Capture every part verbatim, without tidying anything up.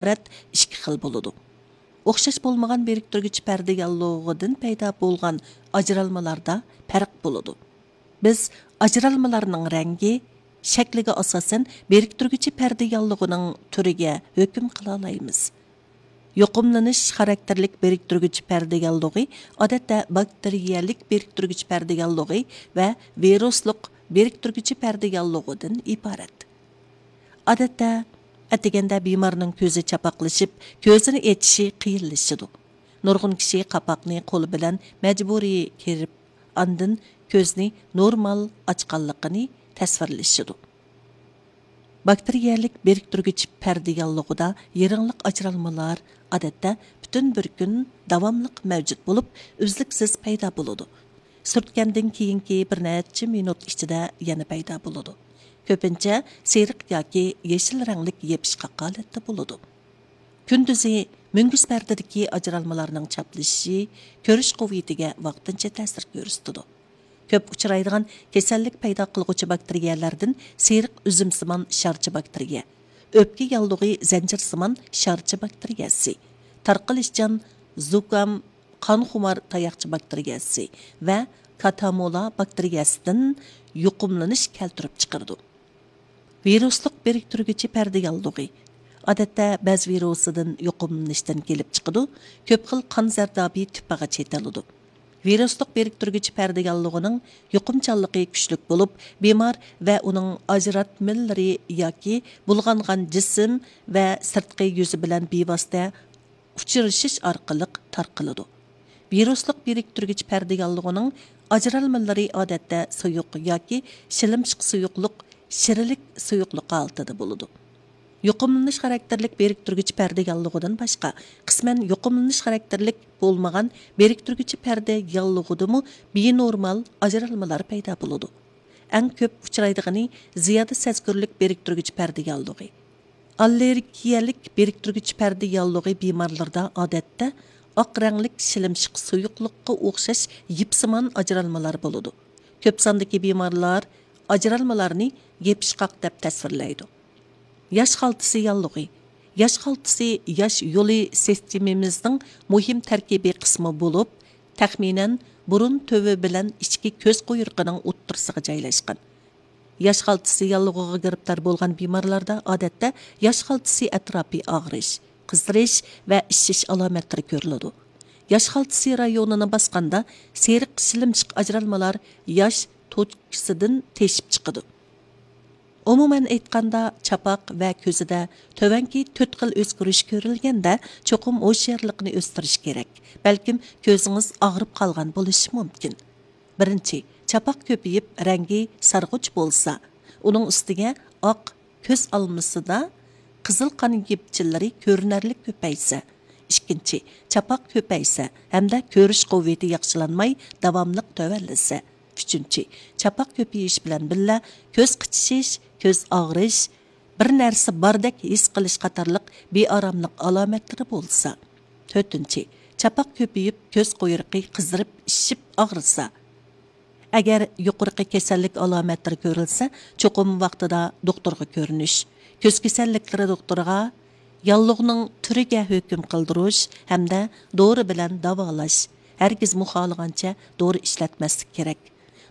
ئىبارەت ئىككى خىل بولىدۇ. ئوخشاش بولمىغان بىرىكتۈرگۈچ پەردە ياللۇغىدىن پەيدا بولغان ئاجرالمىلاردا پەرق بولىدۇ. بىز ئاجرالمىلارنىڭ رەڭگى، شەكلىگە ئاساسەن بىرىكتۈرگۈچى پەردە ياللۇغىنىڭ تۈرىگە ھۆكۈم قىلالايمىز. يۇقۇملىنىش خاراكتېرلىك بىرىكتۈرگۈچ پەردە ياللۇغى ئادەتتە باكتېرىيەلىك بىرىكتۈرگۈچ پەردە ياللۇغى ۋە ۋىرۇسلۇق بىرىكتۈرگۈچى پەردە ياللۇغىدىن ئىبارەت. ئادەتتە، ئەتىگەندە بىمارنىڭ كۆزى چاپاقلىشىپ، كۆزىنى ئېچىشى قىيىنلىشىدۇ. نۇرغۇن كىشى قاپاقنى قولى بىلەن مەجبۇرىي كېرىپ، ئاندىن كۆزنى نورمال ئاچقانلىقىنى تەسۋىرلىشىدۇ. باكتېرىيەلىك بىرىكتۈرگۈچ پەردە ياللۇغىدا يىرىڭلىق ئاجرالمىلار ئادەتتە پۈتۈن بىر كۈن داۋاملىق مەۋجۇت بولۇپ، ئۈزلۈكسىز پەيدا بولىدۇ. سۈرتكەندىن كېيىنكى بىر نەچچە مىنۇت ئىچىدە يەنە پەيدا بولىدۇ. كۆپىنچە سېرىق ياكى يېشىل رەڭلىك يېپىشقاق ھالەتتە بولىدۇ. كۈندۈزى مۈڭگۈز پەردىدىكى ئاجرالمىلارنىڭ چاپلىشىشى كۆرۈش قۇۋۋىتىگە ۋاقتىنچە تەسىر كۆرسىتىدۇ. كۆپ ئۇچرايدىغان كېسەللىك پەيدا قىلغۇچى باكتېرىيەلەردىن سېرىق ئۈزۈمسىمان شارچە باكتېرىيە، ئۆپكە ياللۇغى زەنجىرسىمان شارچە باكتېرىيەسى، تارقىلىشچان زۇكام قانخۇمار تاياقچە باكتېرىيەسى ۋە كاتامولا باكتېرىيەسىدىن يۇقۇملىنىش كەلتۈرۈپ چىقىرىدۇ. ۋىرۇسلۇق بىرىكتۈرگۈچى پەردە ياللۇغى ئادەتتە بەز ۋىرۇسىدىن يۇقۇملىنىشتىن كېلىپ چىقىدۇ، كۆپ خىل قان زەردابى تىپىغا چېتىلىدۇ. ۋىرۇسلۇق بىرىكتۈرگۈچى پەردە ياللۇغىنىڭ يۇقۇمچانلىقى كۈچلۈك بولۇپ، بىمار ۋە ئۇنىڭ ئاجراتمىلىرى ياكى بۇلغانغان جىسىم ۋە سىرتقى يۈزى بىلەن بىۋاسىتە ئۇچرىشىش ئارقىلىق تارقىلىدۇ. ۋىرۇسلۇق بىرىكتۈرگۈچ پەردە ياللۇغىنىڭ ئاجرالمىلىرى ئادەتتە سۇيۇق ياكى شىلىمشىق سۇيۇقلۇق، شىرىلىك سۇيۇقلۇق ھالىتىدە بولىدۇ. يۇقۇملىنىش خاراكتېرلىك بىرىكتۈرگۈچ پەردە ياللۇغىدىن باشقا، قىسمەن يۇقۇملىنىش خاراكتېرلىك بولمىغان بىرىكتۈرگۈچ پەردە ياللۇغىدىمۇ بىنورمال ئاجرالمىلار پەيدا بولىدۇ. ئەڭ كۆپ ئۇچرايدىغىنى زىيادە سەزگۈرلۈك بىرىكتۈرگۈچ پەردە ياللۇغى. ئاللېرگىيەلىك بىرىكتۈرگۈچ پەردە ياللۇغى بىمارلىرىدا ئادەتتە ئاق رەڭلىك شىلىمشىق سۇيۇقلۇققا ئوخشاش يىپسىمان ئاجرالمىلار بولىدۇ. كۆپ ساندىكى بىمارلار ئاجرالمىلارنى يېپىشقاق دەپ تەسۋىرلەيدۇ. ياش خالتىسى ياللۇغى. ياش خالتىسى ياش يولى سىستېمىمىزنىڭ مۇھىم تەركىبىي قىسمى بولۇپ، تەخمىنەن بۇرۇن تۈۋى بىلەن ئىچكى كۆز قۇيرۇقىنىڭ ئوتتۇرىسىغا جايلاشقان. ياش خالتىسى ياللۇغىغا گىرىپتار بولغان بىمارلاردا ئادەتتە ياش خالتىسى ئەتراپى ئاغرىش، قىزىرىش ۋە ئىششىش ئالامەتلىرى كۆرۈلىدۇ. ياش خالتىسى رايونىنى باسقاندا سېرىق شىلىمشىق ئاجرالمىلار ياش توچكىسىدىن تېشىپ چىقىدۇ. ئومۇمەن ئېيتقاندا، چاپاق ۋە كۆزىدە تۆۋەنكى تۆت خىل ئۆزگىرىش كۆرۈلگەندە، چوقۇم ھوشيارلىقنى ئۆستۈرۈش كېرەك. بەلكىم كۆزىڭىز ئاغرىپ قالغان بولۇشى مۇمكىن. بىرىنچى، چاپاق كۆپىيىپ، رەڭگى سارغۇچ بولسا، ئۇنىڭ ئۈستىگە ئاق كۆز ئالمىسىدا قىزىل قان يىپچىلىرى كۆرۈنەرلىك كۆپەيسە. ئىككىنچى، چاپاق كۆپەيسە ھەمدە كۆرۈش قۇۋۋىتى ياخشىلانماي داۋاملىق تۆۋەنلىسە. ئۈچىنچى، چاپاق كۆپىيىش بىلەن بىللە كۆز قىچىشىش، كۆز ئاغرىش، بىر نەرسە باردەك ھېس قىلىش قاتارلىق بىئاراملىق ئالامەتلىرى بولسا. تۆتىنچى، چاپاق كۆپىيىپ، كۆز قۇيرۇقى قىزىرىپ، ئىششىپ ئاغرىسا. ئەگەر يۇقىرىقى كېسەللىك ئالامەتلىرى كۆرۈلسە، چوقۇم ۋاقتىدا دوختۇرغا كۆرۈنۈش، كۆز كېسەللىكلىرى دوختۇرىغا، ياللۇغنىڭ تۈرىگە ھۆكۈم قىلدۇرۇش ھەمدە دورا بىلەن داۋالاش، ھەرگىزمۇ خالىغانچە دورا ئىشلەتمەسلىك كېرەك.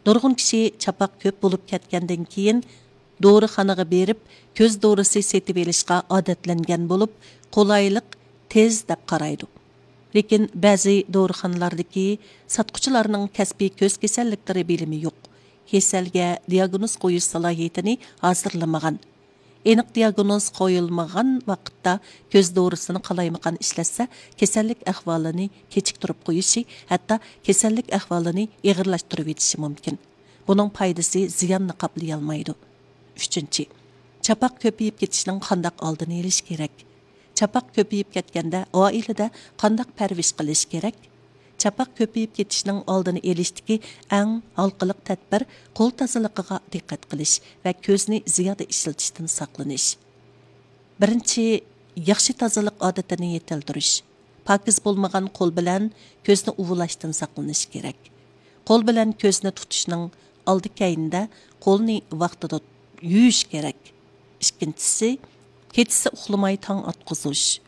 نۇرغۇن كىشى چاپاق كۆپ بولۇپ كەتكەندىن كېيىن، دورىخانىغا بېرىپ، كۆز دورىسى سېتىۋېلىشقا ئادەتلەنگەن بولۇپ، قولايلىق تېز دەپ قارايدۇ. لېكىن بەزى دورىخانىلاردىكى ساتقۇچىلارنىڭ كەسپىي كۆز كېسەللىكلىرى بىلىمى يوق، كېسەلگە دىياگنوز قويۇش سالاھىيىتىنى ھازىرلىمىغان. ئېنىق دىياگنوز قويۇلمىغان ۋاقىتتا كۆز دورىسىنى قالايمىقان ئىشلەتسە، كېسەللىك ئەھۋالىنى كېچىكتۈرۈپ قويۇشى، ھەتتا كېسەللىك ئەھۋالىنى ئېغىرلاشتۇرۇۋېتىشى مۇمكىن. بۇنىڭ پايدىسى زىياننى قاپلىيالمايدۇ. ئۈچىنچى، چاپاق كۆپىيىپ كېتىشنىڭ قانداق ئالدىنى ئېلىش كېرەك؟ چاپاق كۆپىيىپ كەتكەندە ئائىلىدە قانداق پەرۋىش قىلىش كېرەك؟ چاپاق كۆپىيىپ كېتىشنىڭ ئالدىنى ئېلىشتىكى ئەڭ ھالقىلىق تەدبىر قول تازىلىقىغا دىققەت قىلىش ۋە كۆزنى زىيادە ئىشلىتىشتىن ساقلىنىش. بىرىنچى، ياخشى تازىلىق ئادىتىنى يېتىلدۈرۈش. پاكىز بولمىغان قول بىلەن كۆزنى ئۇۋۇلاشتىن ساقلىنىش كېرەك. قول بىلەن كۆزنى تۇتۇشنىڭ ئالدى كەينىدە قولنى ۋاقتىدا يۇيۇش كېرەك. ئىككىنچىسى، كېچىسى ئۇخلىماي تاڭ ئاتقۇزۇش.